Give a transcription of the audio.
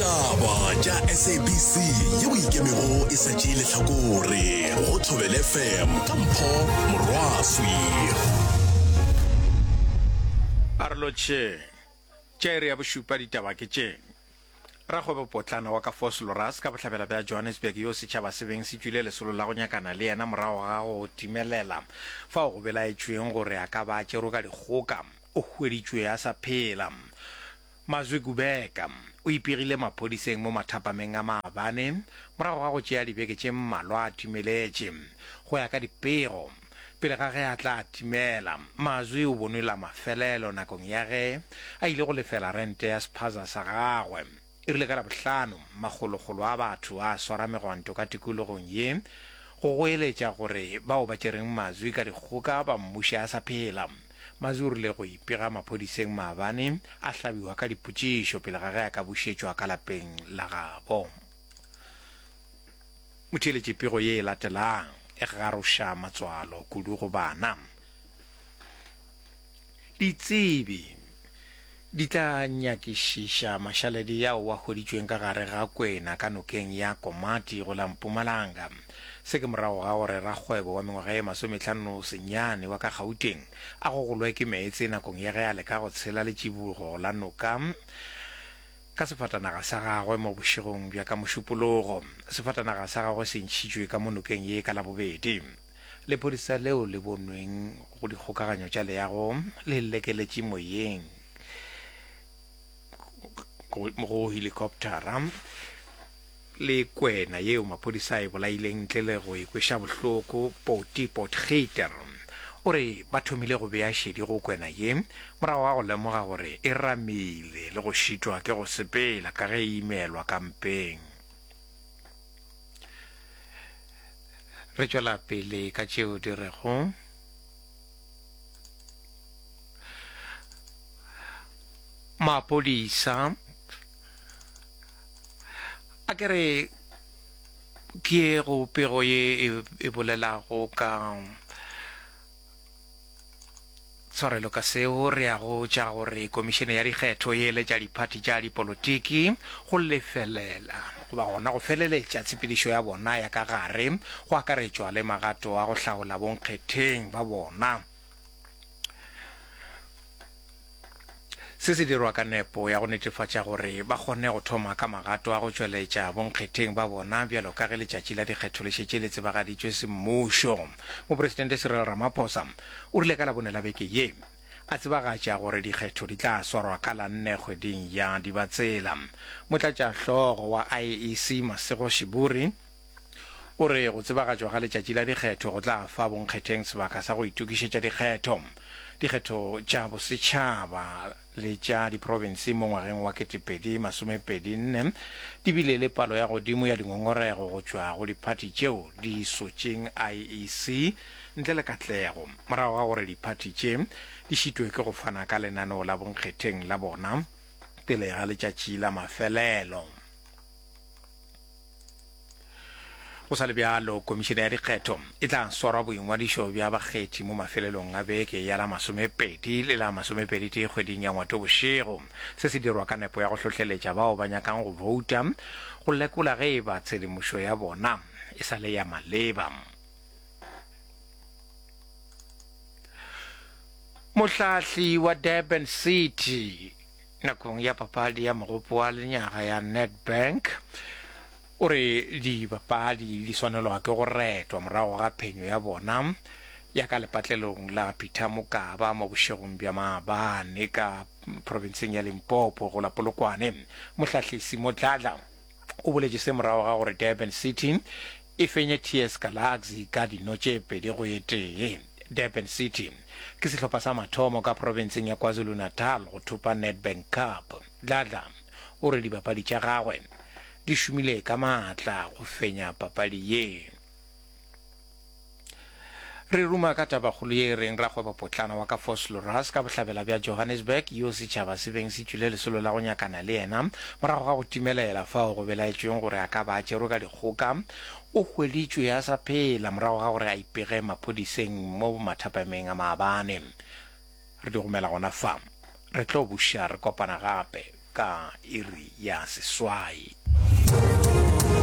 Ditaba tša SABC yeo e ikemego e sa tšee lehlakore go Thobela FM ka Mpho Morwaswi. A re lotšheng. Tša iri ya bošupa ditaba ke tše. Rakgwebopotlana wa ka Vosloorus ka bohlabela bja Johannesburg yo setšhaba se beng se tšwile lesolo la go nyakana le yena morago ga go timelela fao go belaetšweng gore a ka ba a tšerwe ka dikgoka, o hweditšwe a sa phela. Mazwi Kubeka o ipegile maphodiseng mo mathapameng a maabane morago ga go tšea dibeke tše mmalwa a timeletše. Go ya ka dipego, pele ga ge a tla timela, Mazwi o bonwe la mafelelo nakong ya ge a ile go lefela rente ya sephaza sa gagwe. E rile ka Labohlano, makgolokgolo a batho a swara megwanto ka tikologong ye go goeletša gore bao ba tšereng Mazwi ka dikgoka ba mmuše a sa phela. Mazwi o rile go ipega maphodiseng maabane, a hlabiwa ka dipotšišo pele ga ge a ka bušetšwa ka lapeng la gabo. Motheeletši pego ye e latelang e garoša matswalo kudu go bana. Ditsebi di tla nyakišiša mašaledi ao a hweditšweng ka gare ga kwena ka nokeng ya Komati go la Mpumalanga. Se ke morago ga gore rakgwebo wa mengwaga ye masometlhano senyane wa ka Gauteng a gogolwe ke meetse nakong ya ge a leka go tshela letšibogo la noka ka sefatanaga sa gagwe mo bošegong bja ka Mošupologo. Sefatanaga sa gagwe se ntšhitšwe ka mo nokeng ye ka Labobedi. Lephodisa leo le bonweng go dikgokaganyo tša leago le lekeletše moyeng go helikoptara le kwena yeo maphodisa a e bolaileng ntle le go e kweša bohloko. Poti Potgieter o re ba thomile go bea šedi go kwena ye morago ga go lemoga gore e ramile le go šitwa ke go sepela ka ge e imelwa ka mpeng. Re tšwela pele ka tšeo di rego maphodisa a ke re ke go pego ye e, e bolelago ka Tshwarelo ka seo, re ya go tša gore Komišene ya Dikgetho e eletša diphathi tša dipolotiki go lefelela goba gona go feleletša tshepedišo ya bona ya ka gare, go akaretšwa le magato a go hlaola bonkgetheng ba bona. Se se dirwa ka nepo ya go netefatša gore ba kgone go thoma ka magato a go tšweletša bonkgetheng ba bona bjalo ka ge letšatši la dikgetho le šetše le tsebagaditšwe semmušo. Mopresidente Cyril Ramaphosa o rile ka Labone la beke ye a tsebagatša gore dikgetho di tla swarwa ka la nne kgweding ya Dibatsela. Motlatšahlogo wa IEC Masego Shiburi O re go tsebagatšwa ga letšatši la dikgetho go tla fa bonkgetheng sebaka sa go itokišetša dikgetho. Dikgetho tša bosetšhaba le tša diprofense mo ngwageng wa 2024 di bile le palo ya godimo ya dingongorego go tšwa go diphathi tšeo di sotšeng IEC ntle le katlego morago ga gore diphathi tše di šitwe ke go fana ka lenaneo la bonkgetheng la bona pele ga letšatši la mafelelo. Go sa le bjalo, Komišene ya Dikgetho e tla swara boingwadišo bja bakgethi mo mafelelong a beke ya la masomepedi le la masomepeditee kgweding ya Ngwatobošego. Se se dirwa ka nepo ya go hlohleletša bao ba nyakang go bouta go lekola ge e ba tshedimošo ya bona e sa le ya maleba. Mohlahli wa Durban City nakong ya papadi ya mogopo wa lenyaga ya Nedbank o re dibapadi di swanelwa ke go retwa morago ga phenyo ya bona ya ka lepatlelong la Peter Mokaba mo bošegong bja maabane ka profenseng ya Limpopo go la Polokwane. Mohlahli Simo Dladla o boletše se morago ga gore Durban City e fenye TS Galaxy ka dino tše 2 go e tee. Durban City ke sehlopha sa mathomo ka profenseng ya KwaZulu-Natal go thopa Nedbank Cup. Dladla o re dibapadi tša gagwe di šomile ka maatla go fenya papadi ye. Re ruma ka tabakgolo ye e reng rakgwebopotlana wa ka Vosloorus ka bohlabela bja Johannesburg yo setšhaba se beng se tšwile lesolo la go nyakana le yena morago ga go timelela fao go belaetšweng gore a ka ba a tšerwe ka dikgoka o hweditšwe a sa phela morago ga gore a ipege maphodiseng mo mathapameng a maabane. Re di gomela gona fa. Re tlo buša re kopana gape ka. ka iri ya seswai.